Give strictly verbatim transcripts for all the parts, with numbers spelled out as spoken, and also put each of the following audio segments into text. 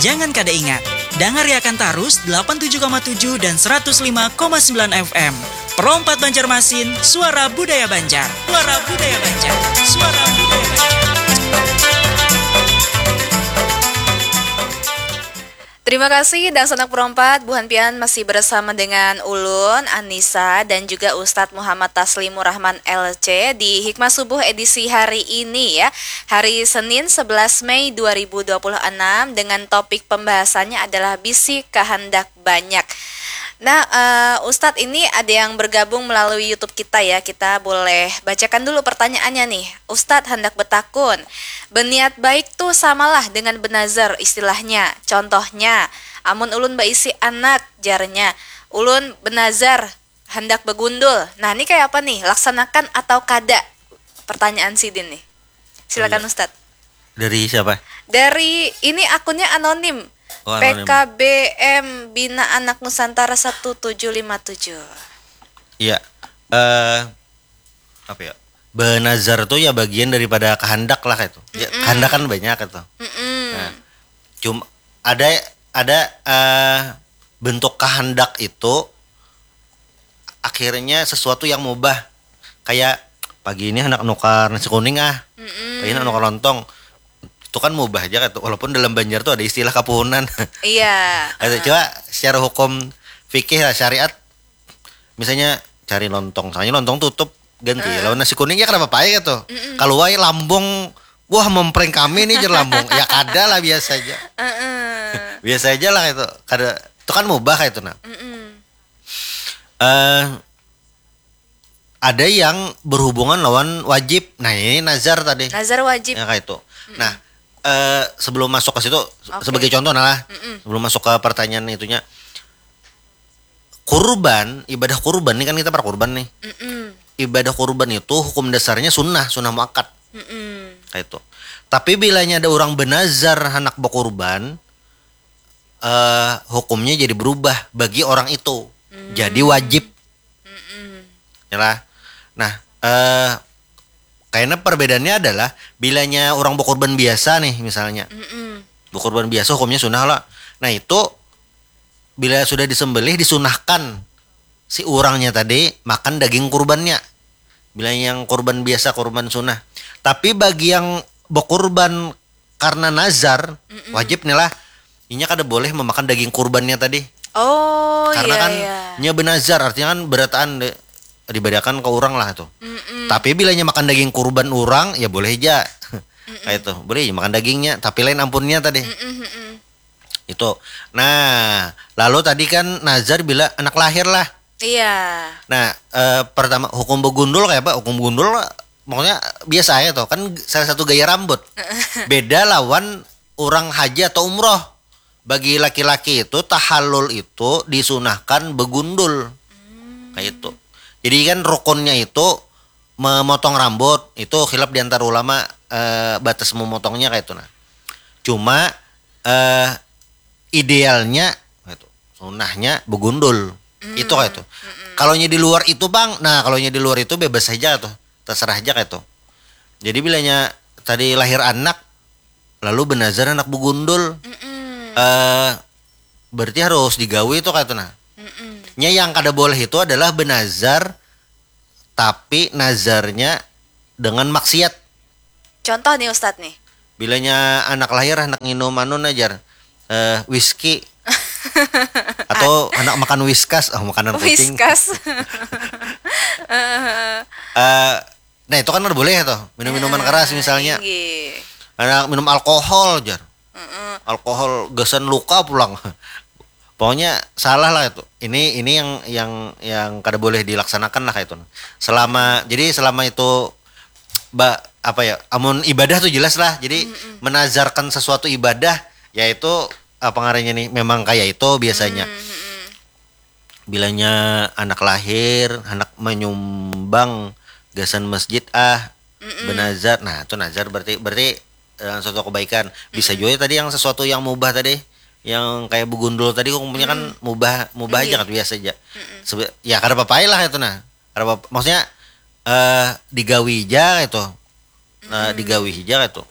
Jangan kada ingat, dangariakan tarus delapan tujuh koma tujuh dan seratus lima koma sembilan F M. Pro empat Banjarmasin, suara budaya Banjar. Suara budaya Banjar. Suara budaya Banjar. Terima kasih dangsanak Pro empat, buhan pian masih bersama dengan ulun Anissa dan juga Ustadz Muhammad Taslimur Rahman L C di Hikmah Subuh edisi hari ini ya. Hari Senin sebelas Mei dua ribu dua puluh enam dengan topik pembahasannya adalah bisi kahandak banyak. Nah, eh, Ustadz, ini ada yang bergabung melalui YouTube kita ya. Kita boleh bacakan dulu pertanyaannya nih. Ustadz handak betakun, beniat baik tu samalah dengan benazar istilahnya. Contohnya, amun ulun baisi anak, jarnya, ulun benazar handak begundul. Nah, ni kaya apa nih? Laksanakan atau kada? Pertanyaan sidin nih. Silakan, Ustadz. Dari siapa? Dari, ini akunnya anonim. Oh, anonim. P K B M Bina Anak Nusantara satu tujuh lima tujuh. Iya. Eh, apa ya? Benazar tuh ya bagian daripada kehendak lah itu. Ya, kehendak kan banyak itu. Nah, cuma ada ada eh, bentuk kehendak itu akhirnya sesuatu yang mubah. Kayak pagi ini anak nukar nasi kuning ah. Pagi ini anak nukar lontong. Itu kan mubah aja gitu. Walaupun dalam Banjar tuh ada istilah kapuhunan. Iya. Ada coba secara hukum fikih lah, syariat, misalnya cari lontong, soalnya lontong tutup, ganti lawan nasi kuning, ya kenapa apa gitu. Kalau wae lambung, wah, memprank kami nih, jer lambung. Ya kada lah, biasa aja. Biasa aja lah itu. Kada, itu kan mubah kayak itu nah. Eh, ada yang berhubungan lawan wajib. Nah, ini nazar tadi. Nazar wajib. Ya kayak itu. Nah, eh, sebelum masuk ke situ, sebagai contoh nah lah, sebelum masuk ke pertanyaan itunya, kurban, ibadah kurban nih, kan kita para kurban nih. Ibadah kurban itu hukum dasarnya sunnah, sunnah muakkad. Kayak itu. Tapi bilanya ada orang benazar anak berkurban, eh, hukumnya jadi berubah bagi orang itu. Jadi wajib. Ya lah. Nah, eh, kayaknya perbedaannya adalah bilanya orang berkurban biasa nih misalnya. Berkurban biasa hukumnya sunnah lah. Nah, itu bila sudah disembelih, disunahkan si urangnya tadi makan daging kurbannya. Bila yang kurban biasa, kurban sunnah. Tapi bagi yang berkurban karena nazar, wajib nih lah. Inya kada boleh memakan daging kurbannya tadi. Oh, Karena iya, kan iya. Nya benazar, artinya kan berataan de- dibadakan ke orang lah tuh. Tapi bilanya makan daging kurban orang, ya boleh aja. Kayak itu. Boleh makan dagingnya, tapi lain ampunnya tadi. Itu. Nah, lalu tadi kan nazar bila anak lahir lah. Iya. Nah, eh, pertama hukum begundul kayak apa? Hukum begundul maksudnya biasa aja tuh. Kan salah satu gaya rambut. Beda lawan orang haji atau umroh. Bagi laki-laki itu tahallul itu disunahkan begundul. Kayak itu. Jadi kan rukunnya itu memotong rambut, itu khilaf di antara ulama, eh, batas memotongnya kayak itu nah. Cuma eh, idealnya gitu, sunahnya begundul. Itu kayak itu. Kalau nya di luar itu, Bang, nah, kalau nya di luar itu bebas saja tuh, terserah aja kayak itu. Jadi bilanya tadi lahir anak, lalu benazar anak begundul, eh, berarti harus digawi itu kayak itu nah. Nya yang kada boleh itu adalah benazar, tapi nazarnya dengan maksiat. Contoh nih, Ustadz nih. Bilanya anak lahir, anak nginum anu, najar, eh, whisky atau anak makan whiskas, oh, makanan kucing. Whiskas. Eh, nah, itu kan kada boleh tuh, minum minuman keras misalnya. Inggih. Anak minum alkohol, jar. Alkohol gasan luka pulang. Pokoknya salah lah itu. Ini ini yang yang yang kada boleh dilaksanakan lah kayak itu. Selama, jadi selama itu ba apa ya, amun ibadah tuh jelas lah. Jadi menazarkan sesuatu ibadah, yaitu apa ngarannya nih, memang kayak itu biasanya. Bilanya anak lahir, anak menyumbang gasan masjid ah, benazar. Nah, itu nazar berarti berarti eh, suatu kebaikan. Bisa juga tadi yang sesuatu yang mubah tadi, yang kayak begundul tadi, hukumnya kan mubah, mubah aja kan, biasa aja. Sebe- ya kada apa-apa lah itu nah. Kada apa, maksudnya eh digawi aja gitu. Nah, digawi aja gitu.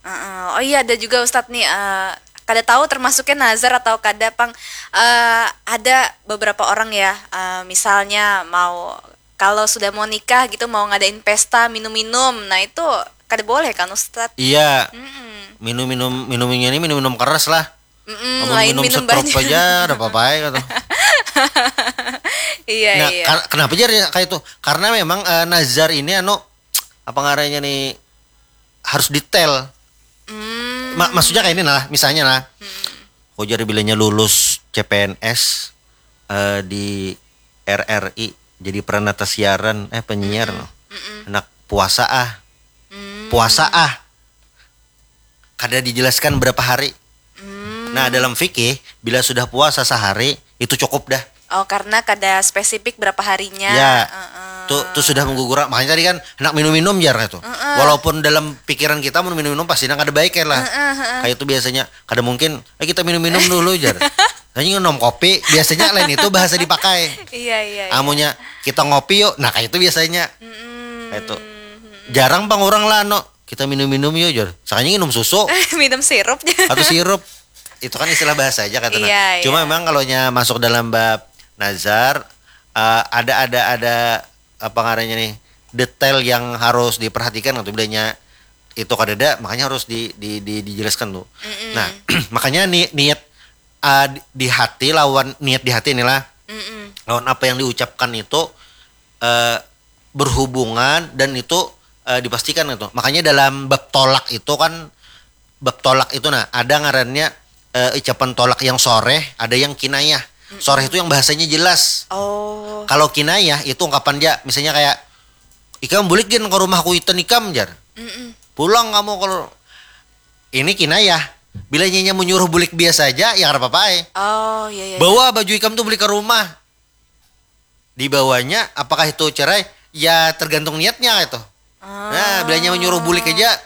Heeh. Oh iya, ada juga, Ustadz nih, eh, kada tahu termasuknya nazar atau kada pang. Eh, ada beberapa orang ya, eh, misalnya mau, kalau sudah mau nikah gitu, mau ngadain pesta minum-minum, nah itu kada boleh kan, Ustadz? Iya. Mm-mm. Minum-minum, minumnya ini minum-minum keras lah. Mm-mm, lain minum, minum setrup aja ada apa-apa ya kata. Iya, nah, iya. Kar- kenapa jadi kayak itu? Karena memang uh, nazar ini anu apa ngaranya nih harus detail. Hmm. Ma- maksudnya kayak ini lah, misalnya lah. Hmm. Kau jadi bilanya lulus C P N S uh, eh, di R R I jadi peranata siaran eh penyiar mm -mm. Loh. Mm -mm. Anak puasa ah. Mm. Puasa ah. Kada dijelaskan berapa hari. Hmm. Nah, dalam fikih bila sudah puasa sehari itu cukup dah. Oh, karena kada spesifik berapa harinya. Ya. Uh-uh. Tuh, tuh sudah menggugurang. Makanya tadi kan hendak minum-minum jar itu. Uh-uh. Walaupun dalam pikiran kita mau minum-minum pasti nang ada baik lah. Uh-uh. Kayak itu biasanya kada mungkin eh kita minum-minum dulu jar. Hanya minum kopi biasanya lain itu bahasa dipakai. Iya, iya. Amunya kita ngopi yuk. Nah, kayak itu biasanya. Mm-mm. Kayak itu. Jarang pang orang lah no kita minum-minum yuk jar. Sakanya minum susu. Minum sirup jar. Atau sirup. Itu kan istilah bahasa aja katanya. Iya, cuma iya. Memang kalau nya masuk dalam bab nazar uh, ada ada ada apa ngarannya nih detail yang harus diperhatikan atau bilanya itu kadada makanya harus di, di, di dijelaskan tuh. Mm-mm. Nah, makanya ni, niat uh, di hati lawan niat di hati inilah. Mm-mm. Lawan apa yang diucapkan itu uh, berhubungan dan itu uh, dipastikan itu. Makanya dalam bab tolak itu kan bab tolak itu nah ada ngarannya uh, ucapan tolak yang soreh, ada yang kinayah. Mm-mm. Soreh itu yang bahasanya jelas. Oh. Kalau kinayah itu ungkapan ja, misalnya kayak ikam bulik gin ke rumah kuitan ikam jar. Mm-mm. Pulang kamu kalau ini kinayah. Bila nyinya menyuruh bulik biasa aja, ya kada apa-apa. Oh, iya, iya. Bawa baju ikam tuh beli ke rumah. Dibawanya apakah itu cerai? Ya tergantung niatnya itu. Ah. Nah, bilanya menyuruh bulik aja.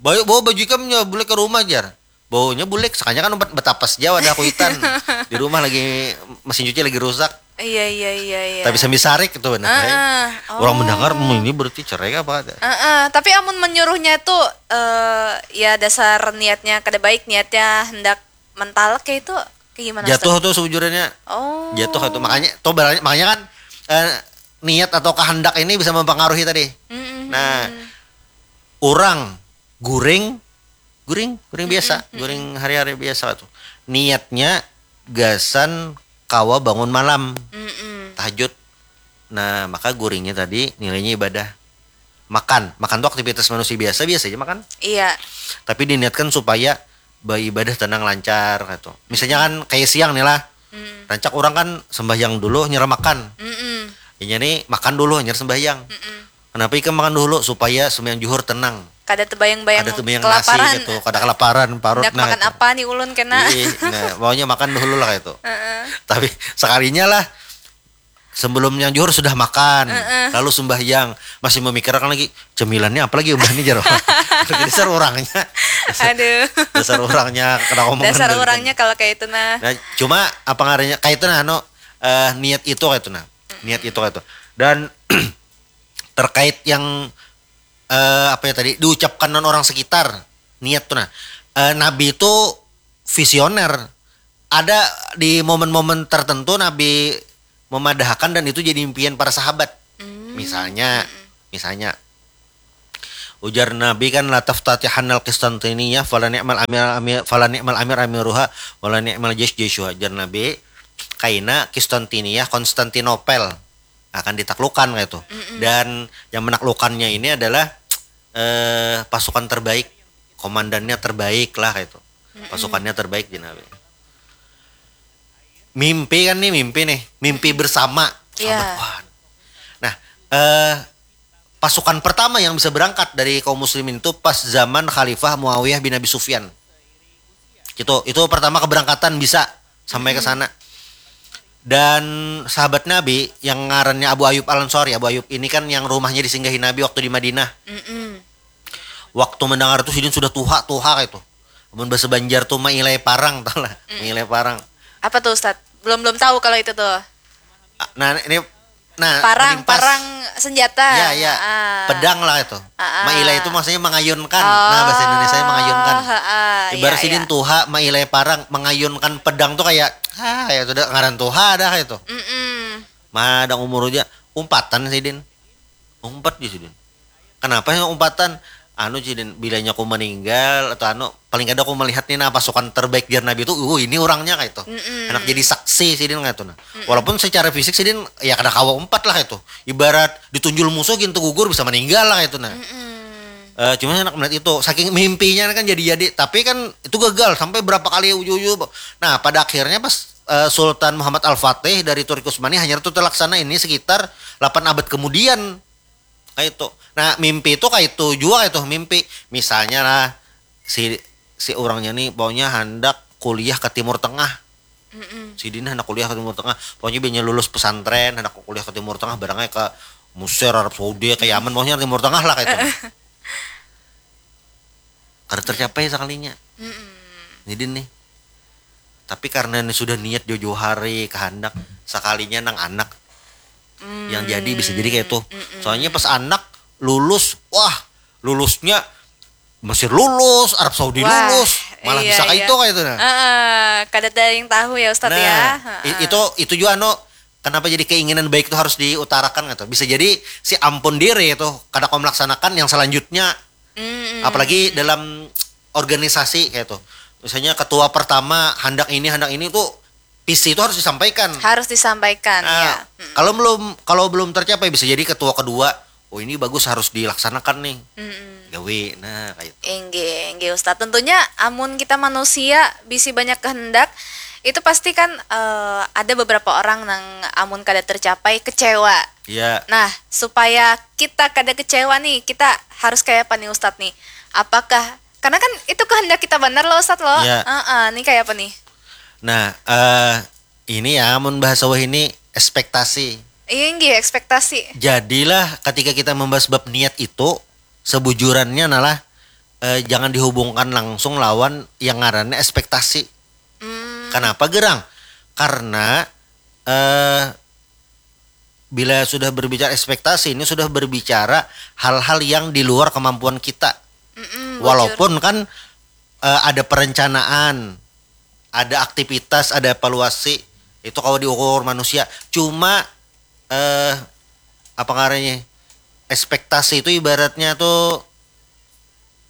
Bawa, bawa baju ikam nya bulik ke rumah jar. Baunya bulik, sakanya kan umpat betapas jauh ada kuitan. Di rumah lagi mesin cuci lagi rusak. Iya, iya, iya, iya. Tapi sambil sarik itu benar. Uh-uh. Oh. Orang mendengar hmm, ini berarti cerai apa ada. Uh-uh. Tapi amun menyuruhnya itu uh, ya dasar niatnya kada baik, niatnya hendak mentalak ya itu kayak gimana? Jatuh tuh sejujurnya. Oh. Jatuh itu makanya tuh makanya kan uh, niat atau kehendak ini bisa mempengaruhi tadi. Mm-hmm. Nah, orang guring guring guring biasa mm-hmm. Guring hari-hari biasa tuh niatnya gasan kawa bangun malam mm-hmm. Tahajud. Nah, maka guringnya tadi nilainya ibadah. Makan makan tuh aktivitas manusia biasa biasa aja makan. Iya. Tapi diniatkan supaya beribadah tenang lancar gitu. Misalnya kan kayak siang nih lah. Mm. Rancak orang kan sembahyang dulu nyerah makan. Mm-mm. Inya nih makan dulu nyerah sembahyang. Mm-mm. Kenapa ikam makan dulu supaya sembahyang juhur tenang. Kada tebayang-bayang kada tebayang kelaparan. Nasi gitu, kada kelaparan parut nah. Makan itu. Apa nih ulun kena? Ih, nah, maunya makan dulu lah itu. Uh-uh. Tapi sekalinya lah sebelum yang juhur sudah makan, uh-uh. Lalu sembahyang masih memikirkan lagi cemilannya apa lagi ubah nih jero. Dasar orangnya. Aduh. Dasar orangnya kena ngomong. Dasar orangnya kalau kayak itu nah. Nah, cuma apa ngaranya kayak itu nah no uh, niat itu kayak itu nah. Niat itu kayak itu. Dan terkait yang uh, apa ya tadi diucapkan non orang sekitar niat tuh nah uh, nabi itu visioner ada di momen-momen tertentu nabi memadahkan dan itu jadi impian para sahabat hmm. Misalnya hmm. Misalnya ujar nabi kan la taftatihannal Qistantiniya fala ni'mal amir, amir fala ni'mal amir amiruha wala ni'mal jais jaisuha ujar nabi kaina Qistantiniya Konstantinopel akan ditaklukkan kayak itu. Mm-mm. Dan yang menaklukkannya ini adalah eh, pasukan terbaik, komandannya terbaik lah kayak itu. Mm-mm. Pasukannya terbaik di Nabi. Mimpi kan nih mimpi nih, mimpi bersama. Yeah. Nah, eh, pasukan pertama yang bisa berangkat dari kaum muslimin itu pas zaman Khalifah Muawiyah bin Abi Sufyan. Gitu. Itu pertama keberangkatan bisa sampai ke sana. Dan sahabat Nabi yang ngarannya Abu Ayub Al Ansori, Abu Ayub ini kan yang rumahnya disinggahi Nabi waktu di Madinah. Mm-mm. Waktu mendengar itu sidin sudah tuha tuha kayak itu. Amun bahasa Banjar tuh mailai parang tau lah. Mm. Mailai parang. Apa tuh Ustaz? Belum belum tahu kalau itu tuh. Nah ini Nah, parang, parang senjata. Ya, ya. Ah. Pedang lah itu. Ah, ah. Maila itu maksudnya mengayunkan. Oh, nah, bahasa Indonesia mengayunkan. Ah, ah. Ya, Bar sidin tuha mailai parang, mangayunkan pedang tu kaya, ah, kaya tu dah, ngaran tuha dah kaya tu. Mm-mm. Madang umur aja, umpatan sidin. Umpat ja sidin. Kanapa nya umpatan? Anu sidin, bilanya ku maninggal atau anu, paling kada ku malihat ni nah pasukan terbaik jar Nabi tu, uh ini urangnya kaya tu. Mm-mm. Handak jadi saksi sidin kaya tu nah. Mm-mm. Walaupun secara fisik sidin ya kada kawa umpat lah kaya tu. Ibarat ditunjul musuh gin tu gugur bisa maninggal lah kaya tu nah. Mm-mm. Eh, cuma handak melihat itu, saking mimpinya kan jadi-jadi, tapi kan itu gagal sampai berapa kali uju-uju. Nah, pada akhirnya pas eh, Sultan Muhammad Al-Fatih dari Turki Utsmani hanyar tu terlaksana ini sekitar lapan abad kemudian. Kaya itu. Nah, mimpi itu kaya itu jua kaya itu mimpi. Misalnya lah si si urangnya ni pokoknya handak kuliah ke Timur Tengah. Mm-mm. Sidin handak kuliah ke Timur Tengah. Pokoknya bilanya lulus pesantren, handak kuliah ke Timur Tengah, barangnya ke Mesir, Arab Saudi, ke Yaman, pokoknya Timur Tengah lah kaya itu. Kada tercapai sakalinya. Mm-mm. Jadi nih. Tapi karena ini sudah niat jauh-jauh hari, kehendak, sekalinya nang anak yang jadi bisa jadi kayak itu. Mm-mm. Soalnya pas anak lulus, wah, lulusnya Mesir lulus, Arab Saudi lulus, malah bisa kayak itu kayak itu nah. Heeh, kada ada yang tahu ya Ustadz ya. Nah, i- itu itu juga anu kenapa jadi keinginan baik itu harus diutarakan gitu. Bisa jadi si ampun diri itu kada kau melaksanakan yang selanjutnya. Mm-mm. Apalagi dalam organisasi kayak itu. Misalnya ketua pertama handak ini, handak ini tuh visi itu harus disampaikan. Harus disampaikan, ya. Kalau belum kalau belum tercapai bisa jadi ketua kedua, oh ini bagus harus dilaksanakan nih. Mm-mm. Gawe, nah kayak itu. Inggih, inggih Ustadz. Tentunya amun kita manusia bisi banyak kehendak, itu pasti kan eh, ada beberapa orang nang amun kada tercapai kecewa. Iya. Nah, supaya kita kada kecewa nih, kita harus kayak apa nih Ustadz nih? Apakah karena kan itu kehendak kita benar loh Ustadz loh. Iya. Heeh, nih kayak apa nih? Nah, eh ini ya mun bahasa wahini ekspektasi. Iya nggih, ekspektasi. Jadilah ketika kita membahas bab niat itu sebujurannya adalah eh, jangan dihubungkan langsung lawan yang ngarannya ekspektasi. Hmm. Kenapa gerang? Karena eh bila sudah berbicara ekspektasi ini sudah berbicara hal-hal yang di luar kemampuan kita. Mm-mm, walaupun kan uh, ada perencanaan, ada aktivitas, ada evaluasi, itu kalau diukur manusia. Cuma uh, apa ngarannya ekspektasi itu ibaratnya tuh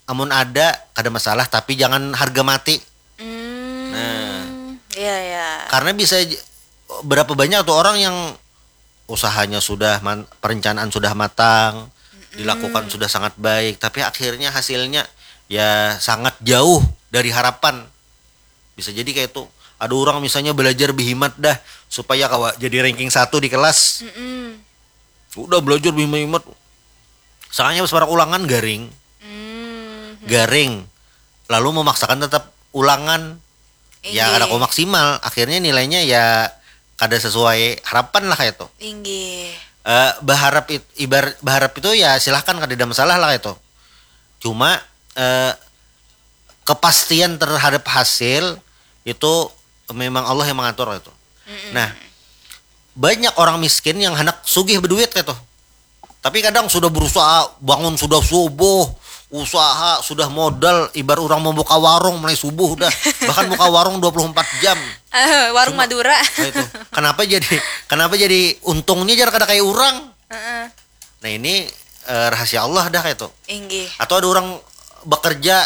amun ada kada masalah tapi jangan harga mati. Hmm, nah, iya ya. Karena bisa berapa banyak tuh orang yang usahanya sudah man, perencanaan sudah matang, mm-mm, dilakukan sudah sangat baik, tapi akhirnya hasilnya ya sangat jauh dari harapan. Bisa jadi kayak itu. Ada orang misalnya belajar bihimat dah supaya kawa jadi ranking satu di kelas. Mm-mm. Udah belajar bihimat. Soalnya pas ulangan garing. Mm-hmm. Garing. Lalu memaksakan tetap ulangan. Ya kada kau maksimal, akhirnya nilainya ya kada sesuai harapan lah kayak itu. Inggih. Uh, berharap it, ibar berharap itu ya silahkan kada ada masalah lah kayak itu. Cuma uh, kepastian terhadap hasil itu memang Allah yang mengatur itu. Mm-mm. Nah, banyak orang miskin yang hendak sugih berduit kayak itu. Tapi kadang sudah berusaha bangun sudah subuh, usaha sudah modal ibar orang membuka warung mulai subuh dah. Bahkan buka warung dua puluh empat jam. Uh, warung Cuma, Madura. Nah itu. Kenapa jadi kenapa jadi untungnya jar kada kayak orang? Uh-uh. Nah ini uh, rahasia Allah dah kayak itu. Inggih. Atau ada orang bekerja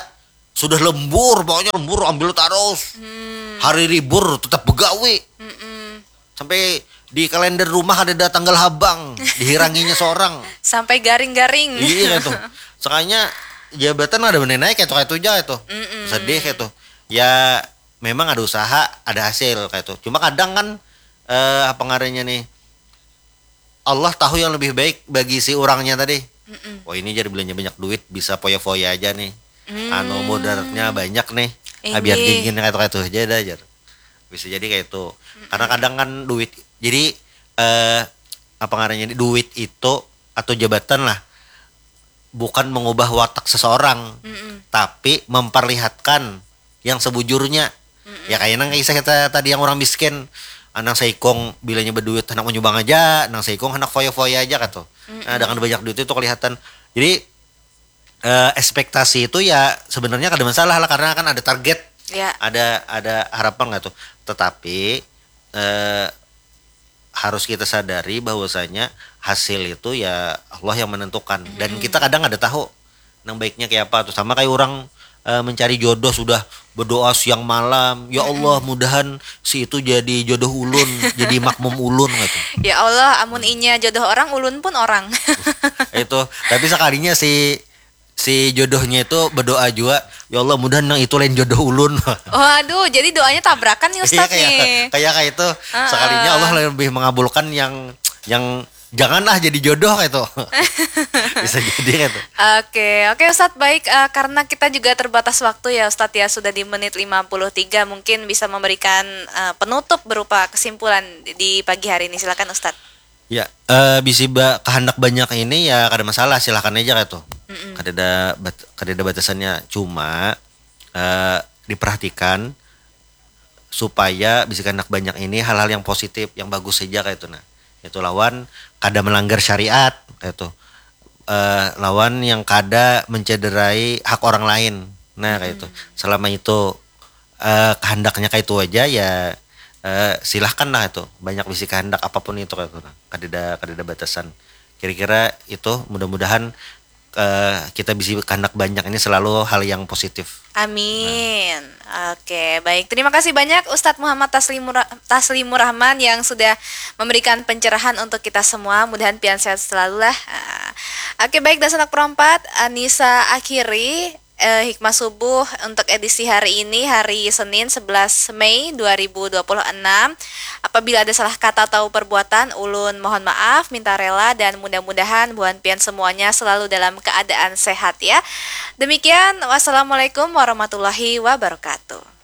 sudah lembur, pokoknya lembur ambil terus. Hmm. Hari libur tetap begawi. Mm-mm. Sampai di kalender rumah ada, ada tanggal habang, dihiranginya seorang. Sampai garing-garing. Iya itu. Sekalinya jabatan ada benar naik itu kayak itu aja itu. Mm-mm. Sedih itu. Ya memang ada usaha, ada hasil kayak itu. Cuma kadang kan eh, apa ngarannya nih? Allah tahu yang lebih baik bagi si orangnya tadi. Mm-mm. Oh ini jadi belanja banyak duit bisa foya-foya aja nih. Mm. Anu mudaratnya banyak nih. Abian gingin kayak itu aja dah jar. Bisa jadi kayak itu. Mm-mm. Karena kadang kan duit jadi eh apa ngarannya duit itu atau jabatan lah bukan mengubah watak seseorang, mm-mm, tapi memperlihatkan yang sebujurnya. Mm-mm. Ya kayak nang kisah kita tadi yang orang miskin, nang seikong bilanya berduit hendak menyumbang aja, nang seikong hendak foya-foya aja kata. Mm-mm. Nah dengan banyak duit itu kelihatan. Jadi eh, ekspektasi itu ya sebenarnya kada masalah lah, karena kan ada target, Ya. ada ada harapan nggak tuh. Tetapi eh, harus kita sadari bahwasanya hasil itu ya Allah yang menentukan, dan kita kadang ada tahu nang baiknya kayak apa tuh. Sama kayak orang eh, mencari jodoh, sudah berdoa siang malam, "Ya Allah, mudahan si itu jadi jodoh ulun, jadi makmum ulun," gitu. Ya Allah, amun inya jodoh orang, ulun pun orang. Itu, tapi sekalinya si si jodohnya itu berdoa juga, "Ya Allah, mudahan nang itu lain jodoh ulun." Waduh, jadi doanya tabrakan nih Ustadz Iya, kayak nih. Kayak kayak itu, sekalinya Allah lebih mengabulkan yang yang janganlah jadi jodoh kayak itu. Bisa jadi kayak itu. Oke, oke Ustadz, baik, eh, karena kita juga terbatas waktu ya Ustadz ya, sudah di menit lima puluh tiga, mungkin bisa memberikan eh, penutup berupa kesimpulan di pagi hari ini, silakan Ustadz. Ya, eh, bisi ba kehendak banyak ini ya kada masalah, silahkan aja kayak itu. Kada ada bat, kada ada batasannya. Cuma eh, diperhatikan supaya bisi kehendak banyak ini hal-hal yang positif, yang bagus saja kayak itu nah. Itu lawan kada melanggar syariat kayak itu. Eh, lawan yang kada mencederai hak orang lain. Nah, kayak itu. Selama itu eh, kehendaknya kayak itu aja ya, eh, silahkan lah itu, banyak bisi kehendak apapun itu kayak itu nah. Kadada kadada batasan. Kira-kira itu, mudah-mudahan eh, kita bisi kehendak banyak ini selalu hal yang positif. Amin. Oke, baik. Terima kasih banyak Ustadz Muhammad Taslimur, Taslimur Rahman yang sudah memberikan pencerahan untuk kita semua. Mudahan pian sehat selalu lah. Ah. Oke, baik, Dasanak Perompat, Anissa akhiri eh, hikmah subuh untuk edisi hari ini, hari Senin sebelas Mei dua ribu dua puluh enam. Apabila ada salah kata atau perbuatan, ulun mohon maaf, minta rela, dan mudah-mudahan buhan pian semuanya selalu dalam keadaan sehat ya. Demikian, wassalamualaikum warahmatullahi wabarakatuh.